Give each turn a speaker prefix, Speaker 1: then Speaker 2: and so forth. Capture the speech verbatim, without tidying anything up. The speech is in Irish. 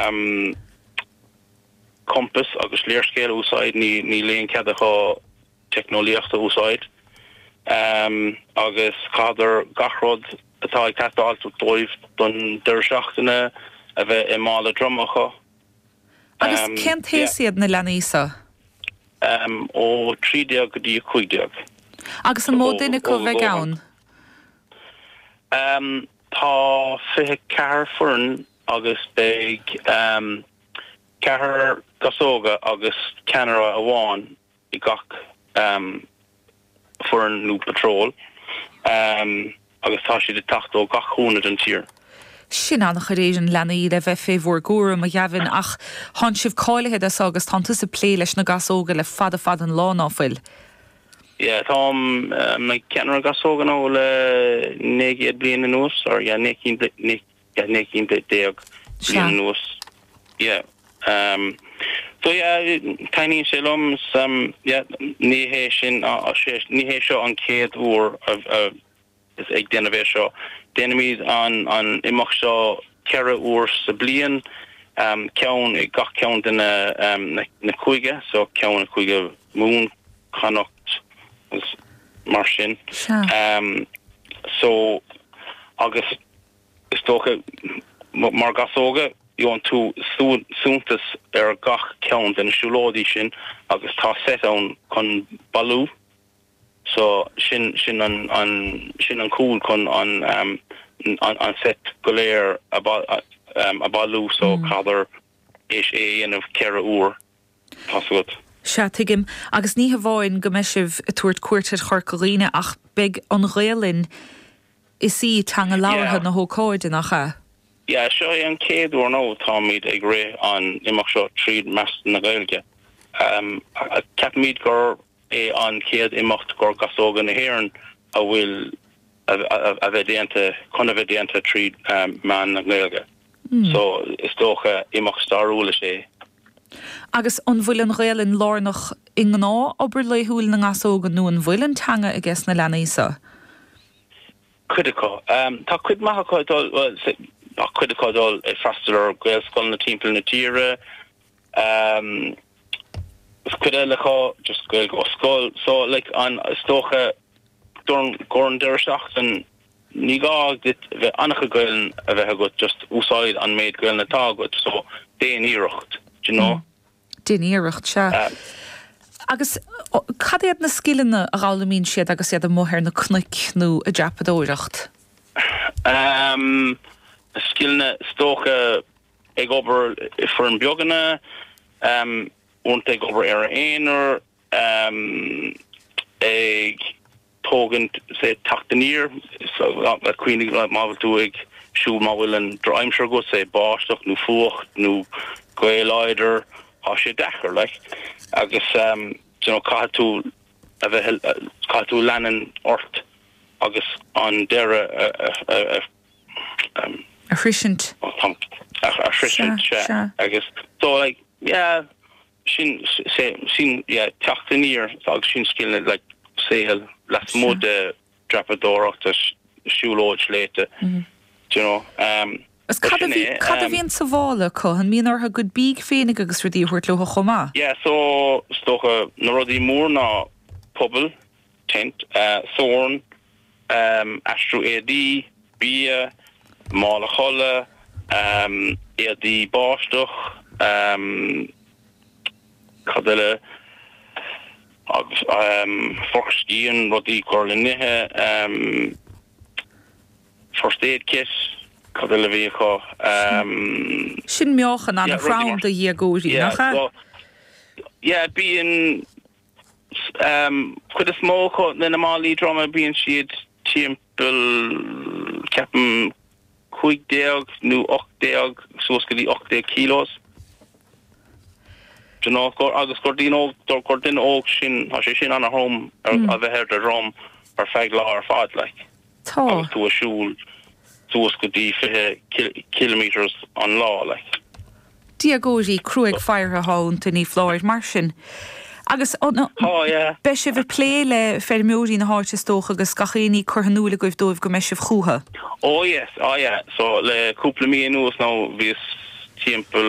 Speaker 1: um, compass agus léarscáil a úsáid ní níl aon chead acu teicneolaíocht a úsáid um, agus caithfidh gach rud atá ag teastáil dóibh don deireadh seachtaine a bheith i mála droma acu.
Speaker 2: Agus um, cén t-aois iad na leanaí seo?
Speaker 1: Um, ó trí déag go dtí cúig déag.
Speaker 2: Agus an mó duine acu a bheidh ann?
Speaker 1: Um, tá fiche ceathair foireann agus beidh um, ceathrar gasóga agus ceannaire amháin i gach um, foireann nó patrol um, agus tá siad ag teacht ó gach cúinne den tír.
Speaker 2: Sin an-chuid leanaí le bheith fé bhur gcúram a Ghavin ach tá sibh cáilithe do agus tá tú ag plé leis na gasóga le fada fada an lá ná fuil.
Speaker 1: Yeah, táim um, ceannaire gasóga now le naoi bliain anuas or yeah, naoi déag bliain anuas. Yeah. Um, so yeah, taitníonn sé liom um, yeah, ní hé sin ní hé seo an chéad uair is ag déanamh é seo. Déanaimid an an imeacht seo ceithre huair sa bliain um, ceann i gach ceann de na, um, na, na cúige, so ceann i gCúige Mumhan Connacht mar sin. Um, so agus is dócha mar gasóga gheobhann tú suntas ar gach ceann den siúlóidí sin agus tá set ann chun bailiú so sin sin an an sin an cúl chun an um, an, an set go léir a, um, a bailiú so mm. caithfear é é dhéanamh ceithre huair tá.
Speaker 2: Sea tuigim agus ní hamháin go mbeidh sibh ag tabhairt cuairt ar Chorca Dhuibhne ach beidh an Ghaelainn is í teanga labhartha na hócáide nach ea.
Speaker 1: Ja, seo é an chéad uair now táimid ag rith an imeacht seo tríd meán na Gaeilge. Um, Ceapaimid gur é an chéad imeacht gur gasóga na hÉireann a bhfuil a bheith déanta chun a bheith déanta tríd um, meán na Gaeilge. Mm. So is dócha imeacht stairiúil é.
Speaker 2: Agus an bhfuil an Ghaelainn lárnach i ngnáthobair laethúil na ngasóga nó an bhfuil an teanga aige na leanaí seo?
Speaker 1: Cuid acu. Um, tá cuid maith acu dul well, tá cuid acu dul ag freastal ar Gaelscoil na timpeall na tíre. Um, cuid eile acu just Gaeilge ó scoil so like an is dócha gur gur an deireadh seachtain ní gá duit bheith an-chuid Gaeilge a bheith agat just úsáid an méid Gaeilge atá agat so déan iarracht you know?
Speaker 2: Mm. Déan iarracht sea. Um, Agus cad iad na scileanna a fhoghlaimíonn siad agus iad amuigh ar na cnoic nó ag dreapadóireacht?
Speaker 1: Um, scileanna is dócha ag obair i bhfoirne beaga, um, ag obair ar aonar, um, ag tógaint sé teacht aniar so, cuimhnigh má bhfuil tú ag siúl má bhfuil an drochaimsir agat sé báisteach nó fuacht nó gaoth láidir tá sé deacair like. agus um, you know, caithfidh tú a bheith caithfidh tú leanúint ort agus an deireadh a
Speaker 2: um, a shroichint
Speaker 1: a shroichint agus so like yeah sin sin yeah teacht aniar agus sin skill like saol lasmuigh de dreapadóireacht siúlóid sléibhe mm -hmm. you know um
Speaker 2: Is cad a bhíonn sa mhála acu an mbíonn orthu a gcuid bídh féinig agus rudaí a thabhairt leo chomh maith?
Speaker 1: Yeah, so is dócha na rudaí mór ná puball, tent, uh, sorn, um, aistriú éadaí, bia, mála codlata, um, éadaí báisteach, um, cad eile agus um, forc scian rudaí cur le n-ithe, um, first aid kit, cad eile bhí acu. Um,
Speaker 2: Sin meáchan an-throm do dhéagóirí nach ea?
Speaker 1: Yeah, bíonn um, cuid is mó na málaí droma bíonn siad timpeall ceapaim cúig déag nó ocht déag suas go dtí ocht déag kilos. agus gur duine gur duine óg sin tá sé sin an-throm a bheith ar do dhroim ar feadh lá ar fad like.
Speaker 2: Tá
Speaker 1: tú ag siúl suas go dtí fiche kilometers an lá like.
Speaker 2: Déagóirí cruaidh feartha iontu ní foláir mar sin. Agus beidh sibh ag plé le feirmeoirí na háite is dócha agus gach éinne curtha in iúl agaibh dóibh go mbeidh sibh chucu.
Speaker 1: Oh yes, oh yeah. So le cúpla mí anuas now bhíos timpeall